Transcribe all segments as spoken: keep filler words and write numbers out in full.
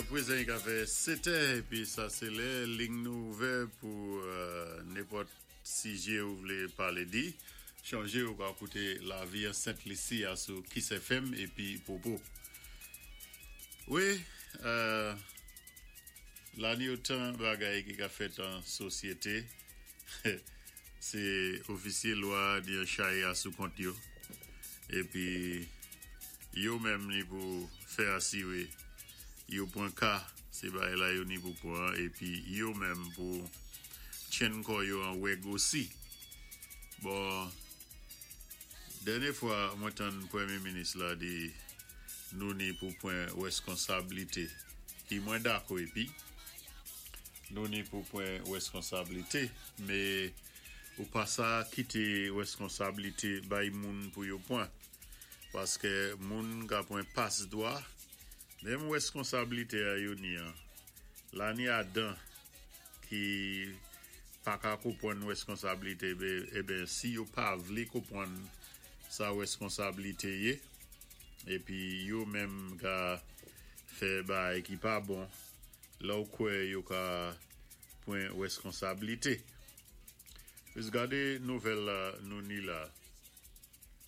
Pwézan i ka fè sèt è, épi sa sé lè liy nou ouvè pou euh, nenpòt sijè ou vlé palé di. Chonjé ou ka kouté Lavi an Sent Lisi a sou Kiss F M épi Popo. Wi, euh, la ni otan bagay ki ka fèt an sosyété, sé ofisyé lwa di yon chay a sou kont yo. Épi yo menm ni pou fè asiwé yo pwan ka sé bagay la yo ni pou pwan épi yo menm pou tjenn kò yo an wèg osi. Bon, dènyé fwa mwen tann pwémyé minis la di nou ni pou pwan wèskonsablité ki mwen dakò épi nou ni pou pwan wèskonsablité, mé ou pa sa kité wèskonsablité bay moun pou yo pwan paské moun ka pwan pas dwa menm wèskonsablité a yo ni an la ni adan ki pa ka konpwann wèskonsablité eben si yo pa vlé konpwann sa wèskonsablité yé épi yo menm ka fè bagay ki pa bon la ou kwè yo ka pwan wèskonsablité. Jis gadé nouvèl la nou ni la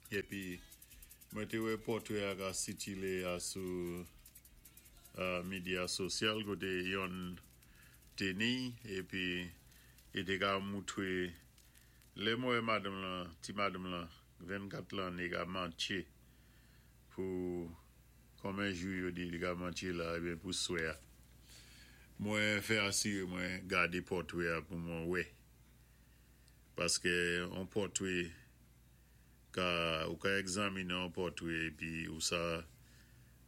épi mwen té wè pòtwé a ka sikilé a sou uh, medya sosyal koté yon té ni épi i té ka moutwé lè mwen madanm lan, ti madanm lan vennkat lanné ka mantché pou konbyen jou yo di li ka mantché la eben pou swè a. Mwen fè asiré mwen gadé pòtwé a pou mwen wè. Paské yon pòtwé ka ou ka egzaminé yon pòtwé épi ou sa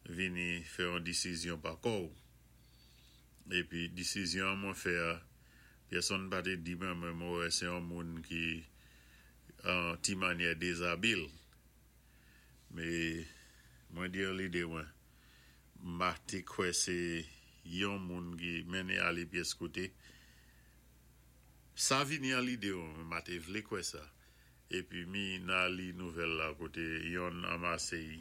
vini fè yon désizyon pa kò ou. Épi désizyon mwen fè a, pèsonn pa té di mwen mwen mwen wè sé yon moun ki an ti mannyè dézabil. Mé mwen di an lidé mwen, ma té kwè sé yon moun ki mennen alé pyès koté. Sa vini an lidé mwen, ma té vlé kwè sa. Épi mi nan li nouvèl la koté yon anmasé y,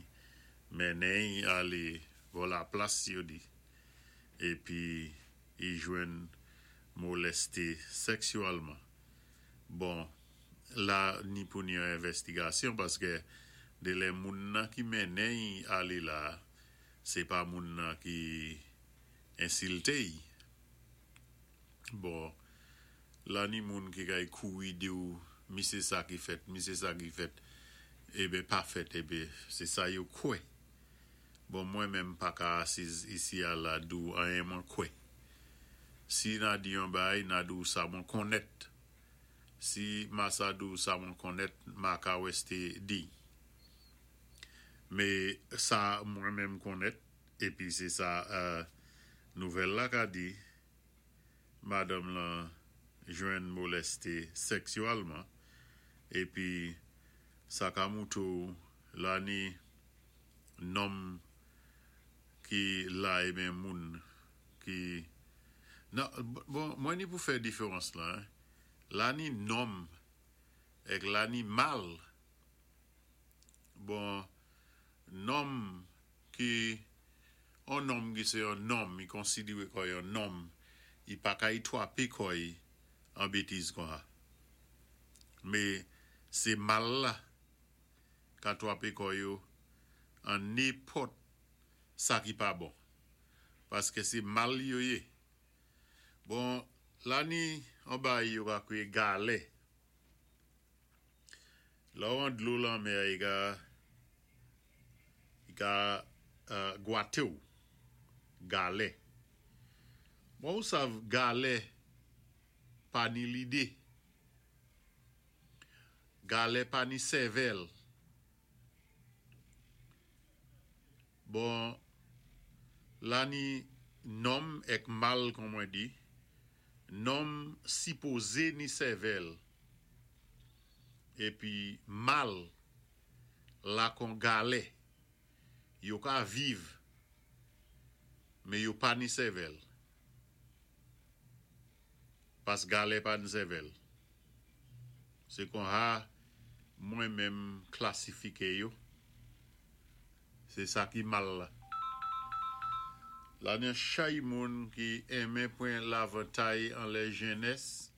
mennen y alé bò la plas yo di. Épi i jwenn molesté sèksyèlman. Bon, la ni pou ni yon envèstigasyon paské de lè moun nan ki mennen y alé la, sé pa moun nan ki ensilté y. Bon, la ni moun ki kay kouri di ou mi sé sa ki fèt, mi sé sa ki fèt, eben pa fèt, eben sé sa yo kwè. Bon, mwen menm pa ka asiz isi a la di ou anyen mwen kwè. Si na di yon bagay, na di ou sa mwen konnèt. Si ma sa di ou sa mwen konnèt, ma ka wèsté di. Mé sa mwen menm konnèt, épi sé sa euh, nouvèl la ka di, madanm lan jwenn molesté sèksyèlman, épi sa ka moutou la ni nonm ki la eben moun ki nan, bon, mwen ni pou fè diférans la, hein. La ni nonm èk la ni mal. Bon, nonm ki on nonm ki sé yon nonm, i konsidiwé kòm yon nonm, i pa ka y twapé kò y an bétiz kon sa. Mé sé mal la ka twapé kò yo an nenpòt sa ki pa bon. Paské sé mal yo yé. Bon, la ni an bagay yo ka kwiyé galè. La ou an dlo lanmè i ka i ka uh, gwaté ou. Galè. Bon, ou sav galè pa ni lidé. Galè pa ni sèvèl. Bon, la ni nonm èk mal kon mwen di, nonm sipozé ni sèvèl. Épi mal la kon galè. Yo ka viv, mé yo pa ni sèvèl. Pask galè pa ni sèvèl. Sé kon sa mwen menm klasifiké yo. Sé sa ki mal la. La ni chay moun ki enmen pwan lavantay an lè jennès.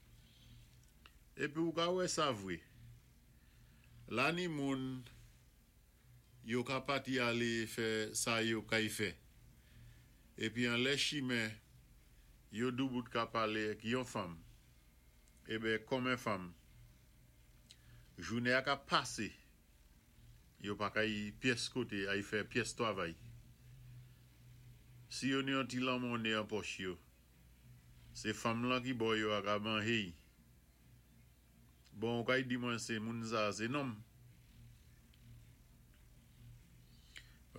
Épi ou ka wè sa vwé. La ni moun yo ka pati alé fè sa yo kay fè. Épi an lè chimen yo doubout ka palé ak yon fanm. Ében kòm en fanm. Jounen a ka pasé. Yo pa kay pyès koté ay fè pyès twavay. Si yo ni yon ti lamonnen an pòch yo, sé fanm lan ki ba yo a ka manjé. Bon, kay di mwen sé moun sa, sé nonm.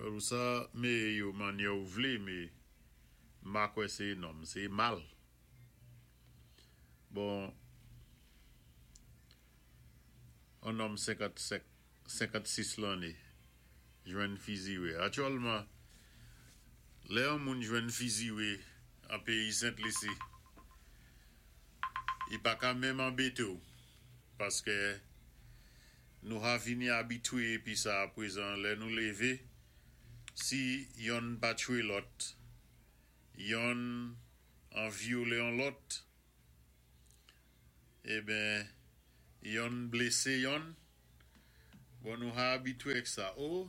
Ou sa, mé yo mannyè ou vlé, mé m pa kwè sé nonm, sé mal. Bon, an nonm senkannsenk, senkannsis lanné, jwenn fiziwé. Aktyèlman, lè an moun jwenn fiziwé an péyi Sent Lisi, i pa ka menm anbété ou, paské nou ha vini abitwé épi sa apwézan lè nou lévé, si yonn pa tchwé lòt, yonn an vyolé an lòt, ében, yonn blésé yonn, bon nou ha abitwé ak sa. Oh,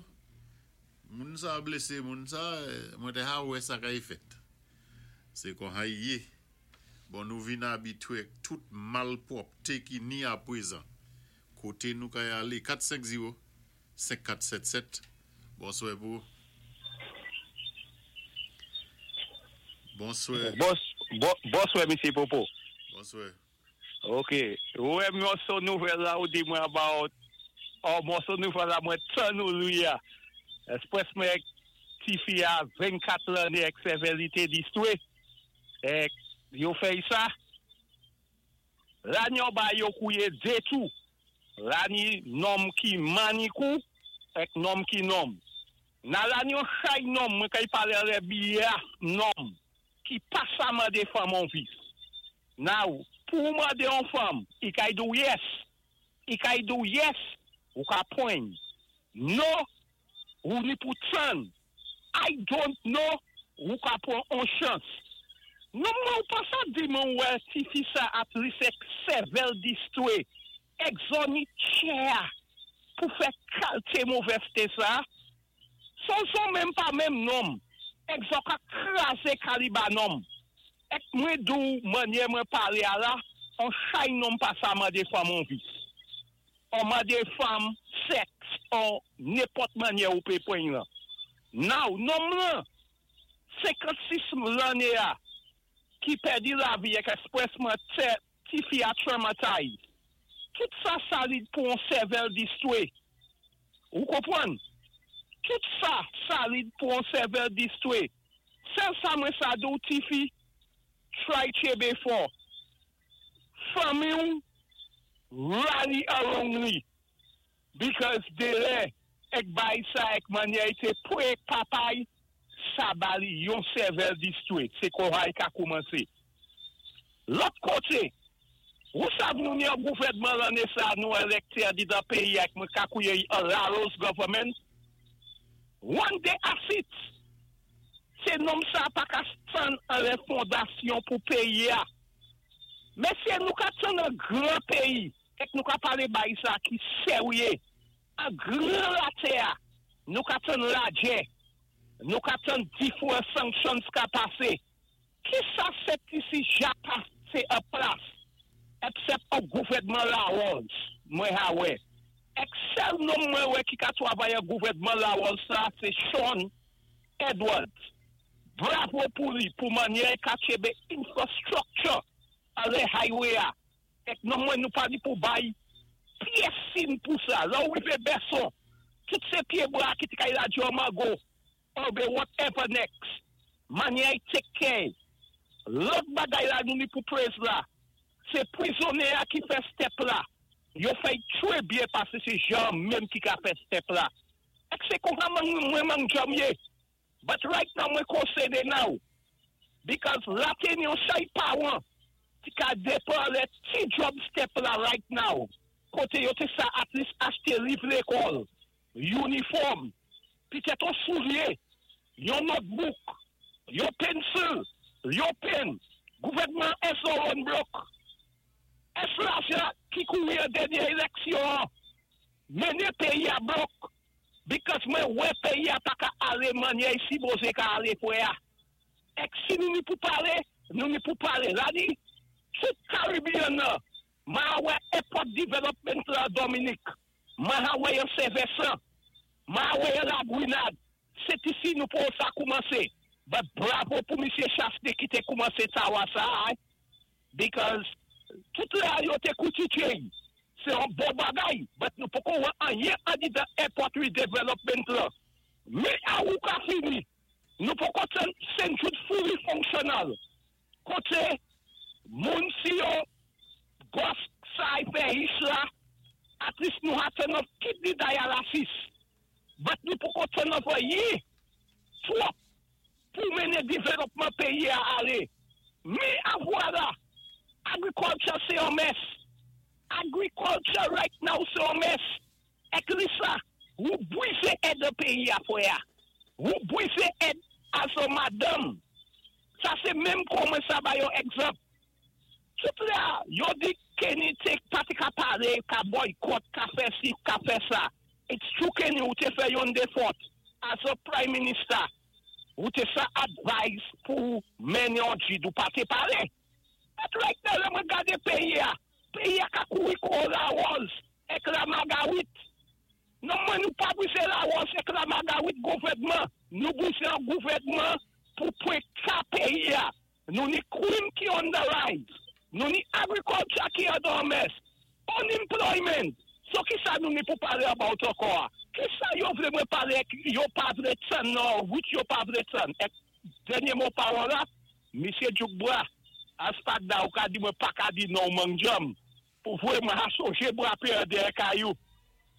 moun sa blésé moun sa, mwen té ha wè sa kay fèt. Sé kon ha yé. Bon nou vin abitwé ak tout malpwòpté ki ni apwézan. Koté nou kay alé, kat senk zewo senk kat sèt sèt. Bonswè pou. Bonswè. Bonswè, Misyé Popo. Bonswè. Ok. Wè, mòso nouvèl la ou di mwen about, oh, mòso nouvèl la mwen tann ou li a. Espwès mwen ti fi a vennkat lanné ak sèvèl li té distwé. Ek yo fèy sa. La ni yon ba yo kouye dé tou. La ni nonm ki manikou ek nonm ki nonm. Nan la ni yon chay nonm mwen kay palé lè biya nonm ki pa sa mandé fanm an vis. Now, pou mandé yon fanm, i kay di ou yes. I kay di ou yes, ou ka pwan. No, ou ni pou tann. I don't know, ou ka pwan an chans. Non mwen ou pa sa di mwen wè ti fi sa ap li se sèvèl distwé. Ek zon ni tchè pou fè kalté movèzté sa. Son son menm pa menm nonm. Ek zon ka krazé kaliba nonm. Ek mwen dou manyè mwen palé a la, an chay nonm pa sa mandé fanm an vis. An mandé fanm sèks, an nenpòt manyè ou pé pwan lan. Now, nonm lan, senkannsis lanné a, ki pèdi lavi ek espresman te, ti fi a traumatized. Tout sa salid pou an sèvèl distwé. Ou konpwann? Tout sa salid pou an sèvèl distwé. Sèl sa mwen sa di ou ti fi, try tchébé fò. Fanmi ou, rally around li. Because de lè, ek bay sa ek manyè ite pou ek papay, sa bali yon sèvèl distwé. Sé konhay ka koumansé. Lòt koté, ou sav nou ni an gouvèdman lanné sa nou élekté a di dan péyi ak mwen ka kouye an Laros government? One day asit. Sé nonm sa pa ka tann an lè fondasyon pou péyi a. Mésyé nou ka tann an gran péyi, ek nou ka palé bay sa ki séwyé, an gran latè a, nou ka tann lagè, nou ka tann different sanctions ka pasé. Ki sa Sent Lisi ja pasé an plas? Except an gouvèdman Laros, mwen ha wè. Ek sèl nonm mwen wè ki ka twavay an gouvèdman Laros sa, sé Sean Edwards. Bravo pou li, pou manyè ka tchébé infrastructure alé highway a. Ek non mwen nou pa di pou bay pyès sin pou sa. La ou rivé Besson, tout sé pyé bwa ki ti kay la di mango, or be whatever next. Manyè take care. Lòt bagay la nou ni pou prez la, sé pwizonnyé a ki fè step la. Yo fè trè byen pasé sé jan menm ki ka fè step la. Ek sé kon mwen mwen mwen jom yé. But right now mwen konsèné now. Because la té ni yon chay pawan ti ka depan lè ti job step la right now. Koté yo té sa at least achté liv lékòl, uniform, pitèt yon soulye, yon notebook. Yon pencil, yon pen, gouvèdman es on blòk. Es lajan ki kouri an dènyé éleksyon, mennen péyi-a blòk. Because mwen wè péyi-a pa ka alé mannyè i sipozé ka alé fwè-a. Èk si nou ni pou palé, nou ni pou palé. La ni, tout Caribbean nan, mwen wè airport development la Dominique, mwen wè yon Saint-Vincent, mwen wè yon La Grenade. Sé isi nou pou sa koumansé. But bravo pou Misyé Chastanet ki té koumansé tawa sa, eh? Because tout la yo té koutitye. Sé yon bon bagay, but nou poko wè anyen andidan airport redevelopment la. Mé a ou ka fini, nou poko ten Saint Jude fully functional. Koté, moun si yo, gòs sa y fè is la, at least nou ha turn off kidney dialysis. But nou poko turn off yi, twòp, pou mennen développement péyi a alé. Mé a vwala, agriculture sé yon mess. Agriculture right now sé yon mess. Èk li sa, ou bwizé èd péyi a fwè. Ou bwizé èd a son madanm. Sa sé menm kòman sa ba yon egzanp. Tout la, yo di Kenny té pa té ka palé, ka boycott, ka fè si, ka fè sa. It's true, Kenny, ou té fè yon défòt as a prime minister. Ou té sa advise pou mennen yon jid ou pa té palé. But right now, lè mwen gadé péyi a. Péyi a ka kouri kon lawòz èk la magawit. Non mwen nou pa bwizé lawòz èk la magawit gouvèdman. Nou bwizé an gouvèdman pou pwen ka péyi a. Nou ni crime ki on the rise. Nou ni agriculture ki an dan mess. Unemployment. So ki sa nou ni pou palé about ankò? Ki sa yo vlé mwen palé, yo pa vlé tann non, which yo pa vlé tann? Èk dènyé mo pawòl la, Misyé Djoukbra, aspak da ou ka di mwen pa ka di non mang jom. Pou vwé mwen a sonjé bwa pé an dèyè kayou.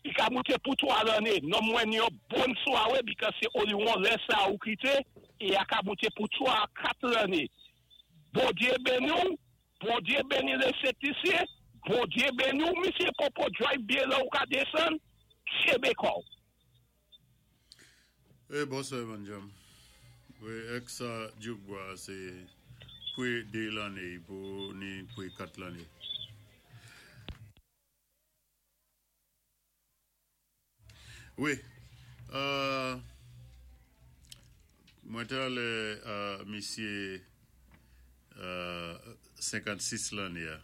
I ka mouté pou twa lanné. Non mwen yon bon swawé because sé only one lè sa ou kité, é a ka mouté pou twa kat lanné. Bondyé béni ou, Bondyé béni lé Sent-Lisi, Bondyé béni ou, Misyé Popo drive byen la ou ka désann, tchébé kò'w. Eh, bonswè, Manjam. Wi, èk sa Djoukbwa, sé pwé dé lanné pou ni pwé kat lanné. Wi, euh, mwen talè euh, misyé euh, senkannsis lanné a.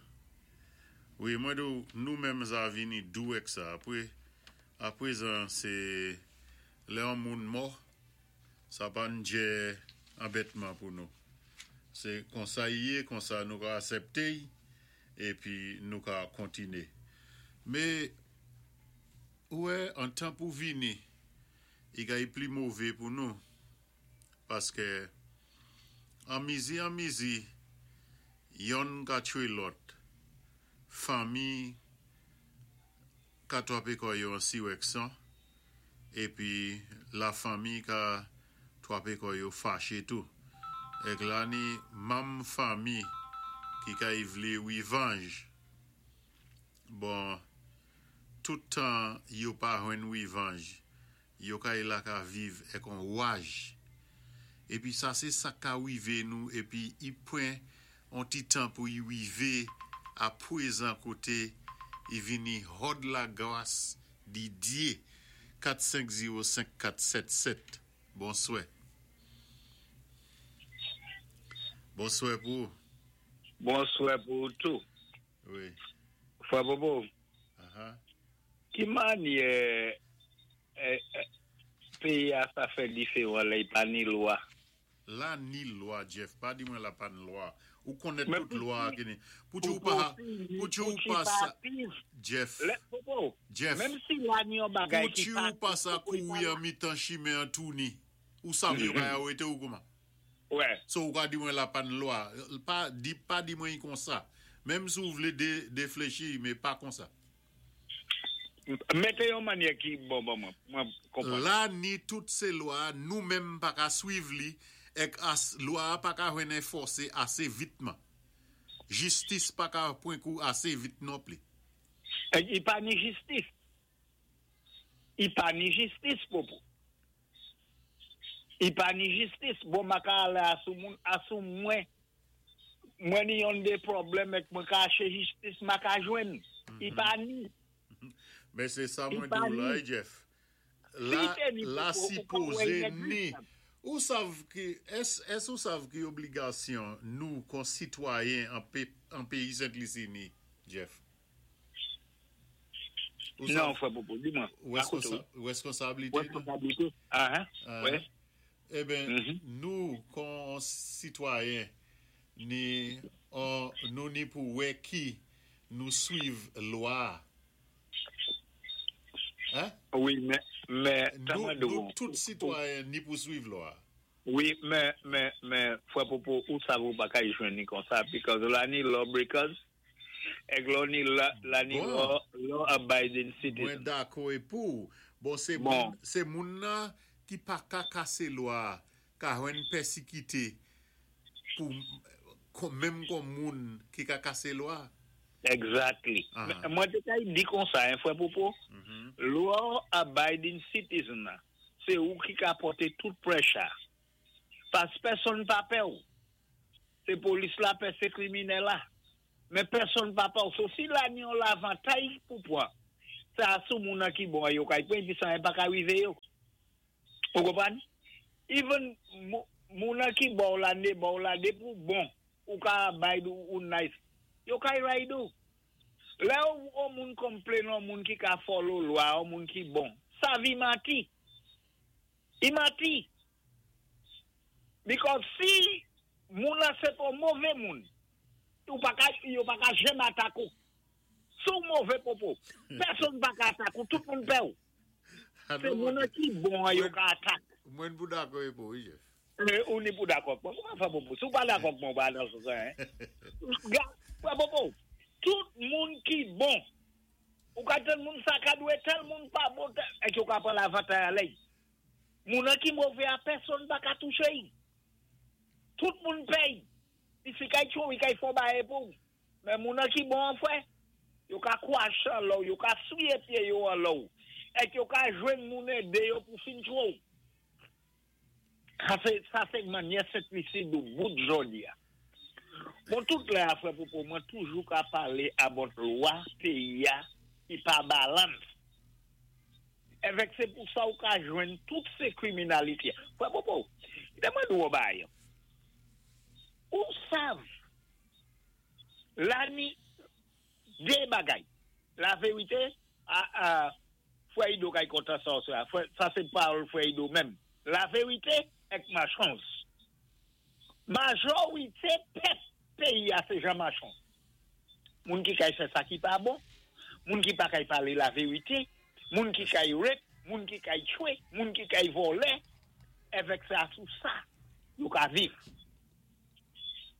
Wi, mwen di nou menm sa vini dou èk sa. Apwé, apwézan sé lè an moun mò, sa pa njè anbètman pou nou. Sé konsa i yé, konsa nou ka asèpté épi nou ka kontiné. Mé wè, an tan pou vini, i ka i pli mové pou nou. Paské an mizi an mizi, yonn ka tchwé lòt. Fanmi ka twapé kò yo an siwèk san, épi la fanmi ka twapé kò yo faché tou. Èk la ni manm fanmi ki ka i vlé wivanj. Bon, tout tan yo pa jwenn wivanj, yo ka i la ka viv èk on waj. Épi sa sé sa ka wivé nou, épi i pwan on ti tan pou i wivé apwézan koté i vini hòd la gwas di Dyé. kat senk zewo senk kat sèt sèt. Bonswè. Bonswè pou ou. Bonswè pou tou. Wi. Frè Bobo. Uh-huh. Ki mannyè eh, eh, péyi a sa fè diféwan la, i pa ni lwa? La ni lwa, Jeff, pa di mwen la pa ni lwa. Ou konnèt Mé tout pou lwa ti- ki ni. Pou ti ou pa, pou ti ou pa sa, Jeff, Lè, Bobo, Jeff, menm si la ni yon bagay pou ki ti pa ou pa sa kouri an mitan chimen an touni, ou sav yo ka arete ou kouman? Wè. So ou ka di mwen la pa ni lwa. Pa di, pa di mwen kon sa. Menm si ou vlé dé, défléchi, mé pa kon sa. Mété yon mannyè ki bon bon mwen, mwen konpwann. La ni tout sé lwa, nou menm pa ka swiv li, èk as, lwa pa ka jwenn anfòsé asé vitman. Jistis pa ka pwan kou asé vit non pli. Eh, i pa ni jistis. I pa ni jistis, Popo. I pa ni jistis, bon ma ka alé asou moun, asou mwen, mwen ni yon dé pwoblèm èk mwen ka aché jistis, ma ka jwenn. I pa ni. Men sé sa I mwen pa di ou la, ni. Jeff. Si La, té ni la pou, ou ka wè sipozé yon ni. exist. Ou sav ki, ès, ès ou sav ki obligasyon nou kon sitwayen an, pe, an péyi Sent-Lisi ni, Jeff? Ou Non, sav frè Popo, di mwen. responsa, responsabilité nou? Responsabilité. Ah, Ah. wè. Eh ben, Mhm. nou kon sitwayen ni an, nou ni pou wè ki nou suiv lwa. Hein? Wi, men, men, Nou, mwen nou do. tout sitwayen ni pou suiv lwa. Wi, men, men, men, frè Popo, ou sav ou pa ka jwenn ni kon sa, because la ni lawbreakers, èk lò ni la, la ni Bon. law, law abiding Mwen citizen. dakò é pou. Bon, sé Bon. moun, sé moun nan ki pa ka kasé lwa, ka jwenn pèsikité pou kon, menm kon moun ki ka kasé lwa. Exactly. Ah. Men, Mwen té ka di kon sa, hein, frè Popo, Mhm. law abiding citizen nan, sé ou ki ka pòté tout pressure. Pas pèsonn pa pè ou. Sé polis la pè, sé kriminèl la. Men pèsonn pa pè ou. So si la ni yon lavantay pou pwan, sa sou moun nan ki bon yo kay pwen, pi sa yon pa ka rivé yo. Ou konpwann? Even mou- moun nan ki bon la, né bon la, dé pou bon, ou ka bay ou, ou nice, yo kay ride ou. Lè ou, ou moun complain ou moun ki ka follow lwa, ou moun ki bon, sa vi manti. I manti. Because si moun la sé pou mové moun, ou pa ka, yo pa ka janm atak ou. Sou mové popo, pèsonn pa ka atak ou, tout moun pè ou. Sé moun nan ki bon yo ka atak. Mwen pou dakò é pou, wi, Jeff. Eh, ou ni pou dakò. Bon, kouman fè popo? Si ou pa dakò mwen pa nan sou sa, hein? Ga, frè Popo, tout moun ki bon, ou ka tel moun sa ka dwé, tel moun pa bon, tel, èk yo ka pran lavantay a lèy. Moun nan ki mové a pèsonn pa ka touché y. Tout moun pè y. I si kay chou, i kay fò baye pou. Men moun nan ki bon frè, yo ka kwaché an lò, yo ka souyé pyé yo an lò. Èk yo ka jwenn moun édé yo pou fin chou. Sa sé, sa sé mannyè Sent-Lisi dou bout jodi a. Bon, tout lè a frè Popo, mwen toujou ka palé about lwa péyi a ki pa balance. Èvèk sé pou sa ou ka jwenn tout sé kriminalité. Frè Popo, té mwen dou bay. Ou sav, la ni dé bagay. La vérité, a, a, frè Ido kay kontan sa, sa, frè- sa sé pawòl frè Ido menm. La vérité èk machons. Majorité pèp péyi a sé jan machon. Moun ki kay fè sa ki pa bon, moun ki pa kay palé la vérité, moun ki kay rape, moun ki kay tchwé, moun ki kay vòlè, èvèk sa sou sa, yo ka viv.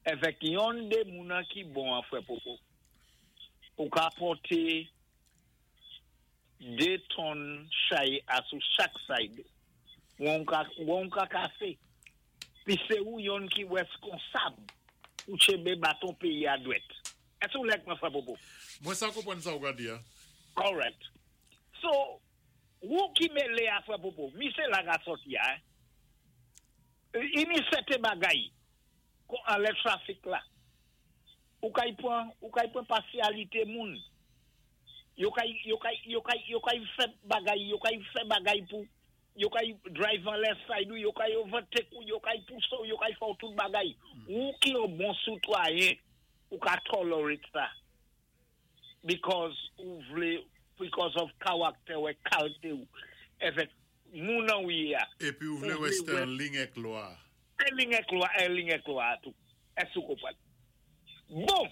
Èvèk yon dé moun nan ki bon an frè Popo. Ou ka pòté dé tòn chay a sou chak side. Ou an ka, ou an ka kasé. Pi sé ou yon ki wèskonsab ou tchenbé baton péyi a dwèt. Ès ou lèk mwen frè Popo? Mwen sa konpwann sa ou ka di, ya. Correct. So, ou ki mélé a frè Popo, mi sé la ga sòti a, hein? I mi sèten bagay kon an lè trafik la. Ou kay pran, ou kay pran pasyalité moun. Yo kay, yo kay, yo kay, yo kay fè bagay, yo kay fè bagay pou, yo kay drive an left side ou, yo kay overtake ou, yo kay pousse ou, yo kay fè tout bagay. Ou ki yon bon sitwayen, ou ka tolerate sa. Because ou vlé, because of character ou kalité ou. Èvèk moun nan ou yé a. Épi ou vlé Ou vlé wèsté wè- an ligne èk lwa. En ligne èk lwa, en ligne èk lwa tou. Ès ou konpwann? Bon,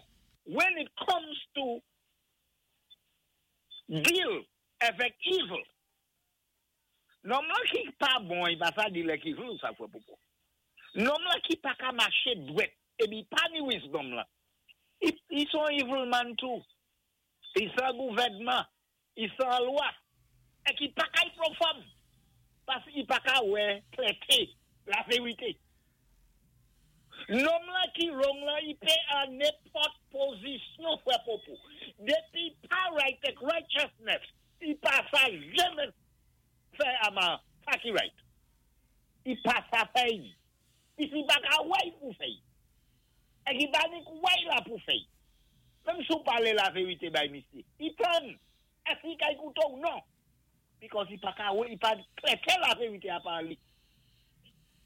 when it comes to deal avèk evil, nonm lan ki pa bon, i pa sa deal èk evil, sa frè Popo. Nonm lan ki pa ka maché dwèt, épi pa ni wisdom la. I, i son evil man tou. I san gouvèdman, i san lwa, é ki pa kay pran fanm. Pas i pa ka wè klèté la vérité. Nonm lan ki wrong lan, i pé an nenpòt pozisyon frè Popo. Dépi pa right èk righteousness, i pa sa janmen fè ama sa ki right. I pa sa fè'y. Isi pa ka wè'y pou fè'y. Èk i pa ni wè'y la pou fè'y. Menm si ou palé la vérité bay misyé. I tann. Èski i kay kouto'w? Non. Because i pa ka wè, i pa klèkè la vérité a pa li.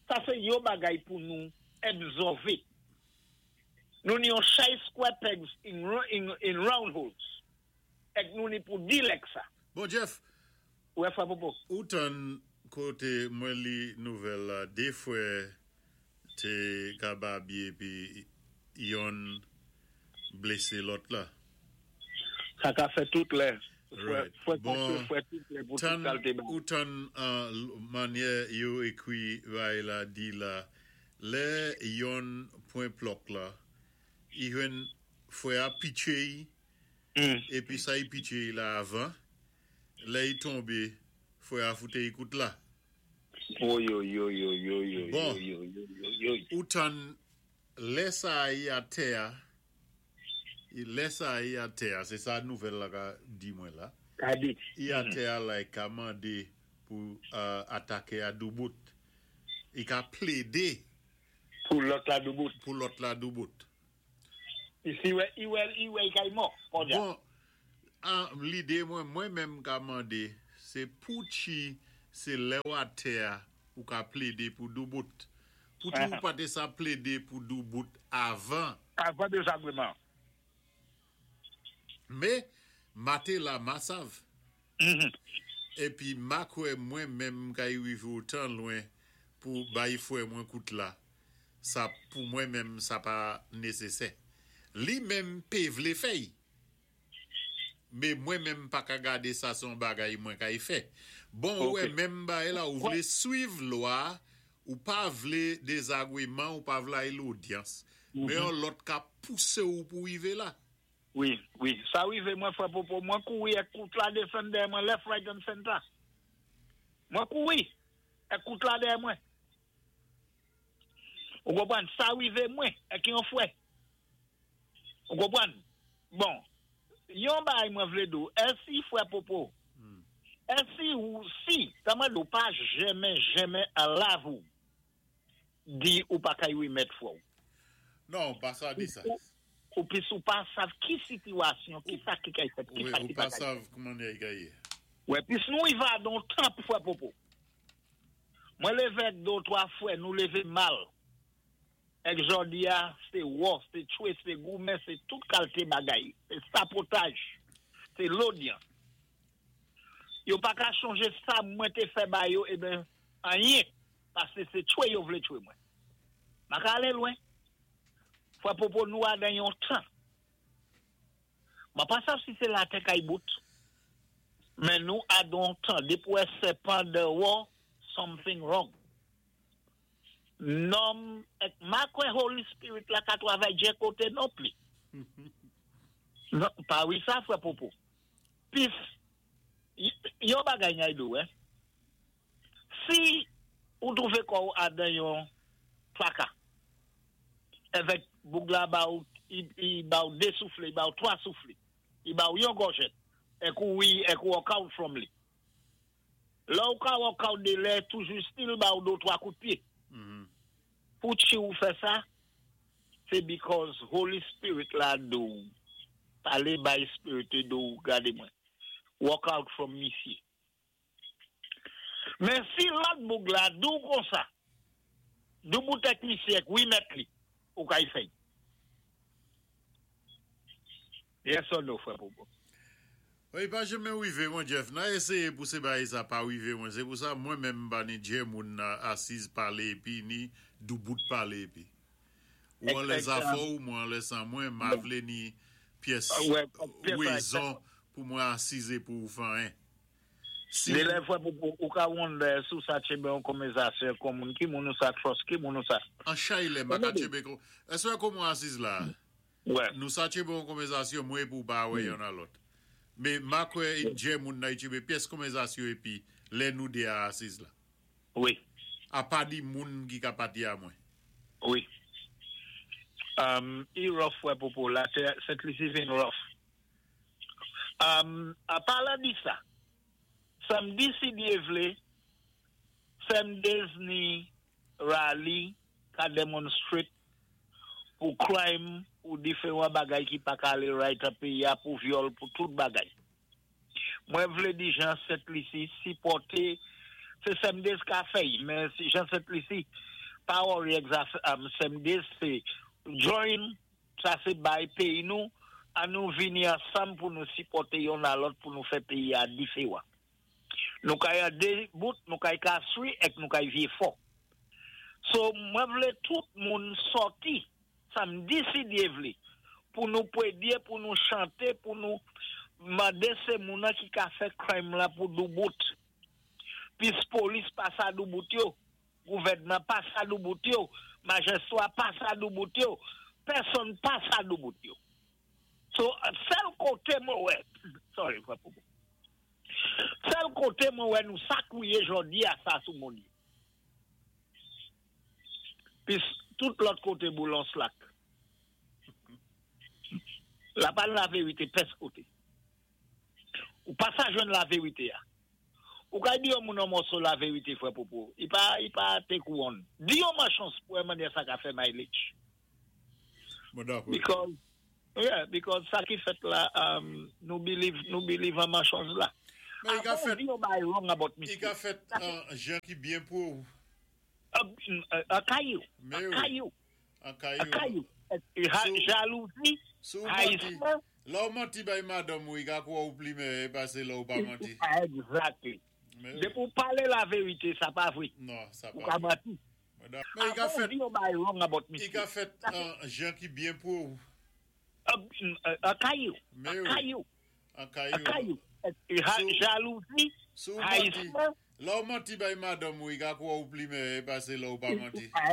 Sa sé yon bagay pou nou absòvé. Nou ni yon chay square pegs in, in, in round holes. Èk nou ni pou deal èk sa. Bon, Jeff, Wè, frè Popo. Ou tann koté mwen li nouvèl la, dé fwè té ka babye pi yonn blésé lòt la. Sa ka fè tout lè. Right. Fwè Bon, fwè tout lè pou tout Tan, kalte ba. Ou tann uh, mannyè yo ékwi bay la di la, lè yonn pwan plòk la, i jwenn fwè a pitché yi, Mm. épi sa i pitché yi la avan, lè i tonbé, fwè a foute yi kout la. Oy, oy, oy, oy, oy, oy, Bon. oy, oy, oy, oy, oy. Ou tann lè sa yi atè a, i lè sa yi atè a, sé sa nouvèl la ka di mwen la, Ka di. I atè a la i ka mandé pou uh, ataké a doubout. I ka plédé Pou lòt la doubout. Pou lòt la doubout. Isi wè, i wè, i wè i kay mò. Kon ja. Bon, an, lidé mwen, mwen menm ka mandé, sé pou chi, sé lè ou atè a, ou ka plédé pou doubout. Pou tou Ah. pa té sa plédé pou doubout avan. Avan désagrément. Mé, maté la ma sav. Mhm. Épi ma kwè mwen menm ka rivé otan lwen pou bay fwè mwen kout la. Sa pou mwen menm sa pa nésésè. Li menm pé vlé fè'y. Mé mwen menm pa ka gadé sa son bagay mwen kay fè. Bon, Ok. wè menm bagay la ou vlé swiv lwa, ou pa vlé désagrément, ou pa vlé ay l'audience. Mé yon lòt ka pousé ou pou rivé la. Wi, wi. Sa rivé mwen, frè Popo, mwen kouri èk kout la désann dèyè mwen left, right and center. Mwen kouri èk kout la dèyè mwen. Ou konpwann? Sa rivé mwen èk yon fwè. Ou konpwann? Bon, yon bagay mwen vlé di ou, èsi frè Popo, èsi ou si, ta mwen di ou pa jenmen, jenmen an lavi ou, di ou pa kay wimèt fwè ou. Non, pa sa di sa. Ou, ou pis ou pa sav ki sitiyasyon, ki sa ki kay fèt, ki Wi, sa ou ki pa pa kay. Sav kouman y gaye. Wè, pis nou y va don tan frè Popo. Mwen lévé do twa fwè, nou lévé mal. Èk jòdi a, sé wò, sé tchwé, sé goumen, sé tout kalté bagay. Sé sabotaj, sé l'audience. Yo pa ka chanjé sa mwen té fè ba yo, eh ben, anyen, pasé sé tchwé yo vlé tchwé mwen. Ma ka alé lwen. Frè Popo nou a dan yon tan. Ma pa sav si sé la tè kay bout, men nou a don tan. Depi wè sèpan déwò, something wrong. Nonm, èk ma kwè Holy Spirit la ka twavay djè koté non pli. Non, pa wi sa, frè Popo. Pis, y- yon bagay ngay do, eh. Si ou twouvé kò'w a dan yon twaka, avèk boug la ba ou, i, i ba ou dé souflé, i ba ou twa souflé, i ba ou yon gòjèt, èk ou wi, èk ou walk out from li. Là ou ka walk out de lè, toujou still ba ou do twa kout pyé. Mhm. Pou chi ou fè sa, sé because Holy Spirit la di ou, palé by Spirit di ou, gadé mwen, walk out from misyé. Men si lòt boug la di ou kon sa, doubout èk misyé, wi mèt li, ou kay fè'y. Yes or no, frè Popo? Wi, pa jenmen wivé mwen, Jeff. Na éséyé pou sé bagay sa pa wivé mwen. Sé pou sa mwen menm pa ni djè moun na asiz palé épi ni doubout palé épi. Ou an lè zafè ou, mwen an lè san mwen, ma vlé ni pyès Wè, pyès wézon pou mwen asize pou ou fè anyen. Si Dé lè frè Popo, ou ka wonder sou sa tchébé yon konvèzasyon kon moun, ki moun ou sa trust, ki moun ou sa. An chay lè, ma ka tchébé kon. Èswè kon mwen asiz la? Wè. Nou sa tchébé yon konvèzasyon mwen pou pa wè yon a lòt. Mé ma kwè djè moun nan tchébé pyès konvèzasyon épi lè nou dé a asiz la. Wi. A pa di moun ki ka pati a mwen. Wi. Um, i rough frè Popo, la Sent Lisi vin rough. Um, a palan di sa, samdi si Dyé vlé, Seven days ni rally ka demonstrate pou crime ou diferan bagay ki pa ka alé right an péyi a, pou vyòl, pou tout bagay. Mwen vlé di jan Sent Lisi sipòté, sé Seven Days ka fè, men si jan Sent Lisi, pa worry egzak, um, Seven Days sé join, sa sé bay péyi nou, an nou vini ansanm pou nou sipòté youn a lòt pou nou fè péyi a diferan. Nou kay a dé bout, nou kay kaswi èk nou kay vyé fò. So, mwen vlé tout moun sòti, samdi si Dye vlé, pou nou pwédyé, pou nou chanté, pou nou mandé sé moun ki ka fè crime la pou doubout. Pis polis pa sa doubout yo, gouvèdman pa sa doubout yo, majistra pa sa doubout yo, pèsonn pa sa doubout yo. So, sèl koté mwen wè, sorry, frè Popo. Sèl koté mwen wè nou sa kouwiyé jòdi a sa sou moun yo. Pis tout lòt koté boulon slak. La pa la vérité pès koté. Ou pa sa jwenn la vérité a. Ou ka di yon moun an mòso la vérité, frè Popo. I pa, i pa te kouwon. Di yon machons pou wè mannyè sa ka fè mileage. Bon, dakò. Because, yeah, because sa ki fèt la, um, nou believe, nou believe an machons la. Men i ka Avan fèt, di yon bay wrong about i misye. ka fèt an jan ki byen pou ou. An kayou. Mais An oui. kayou. An An kayou. kayou. Ha- Sou- Jalouzi, Sou manti, haïsman. lò ou manti bay madanm ou, i ka kwa ou pli mè, pase lò ou pa manti. Exactly. Mais oui. Dé pou palé la vérité, sa pa vwé. Non, sa Ou pa. ka manti. Mais i ka Avan fèt, di yon bay wrong about i misye. ka fèt an jan ki byen pou ou. An kayou. Mais An oui. kayou. An An kayou. kayou. Ha- Sou- Jalouzi, Sou manti, haïsman. lò ou manti bay madanm ou, i ka kwa ou pli mè, pase lò ou pa manti.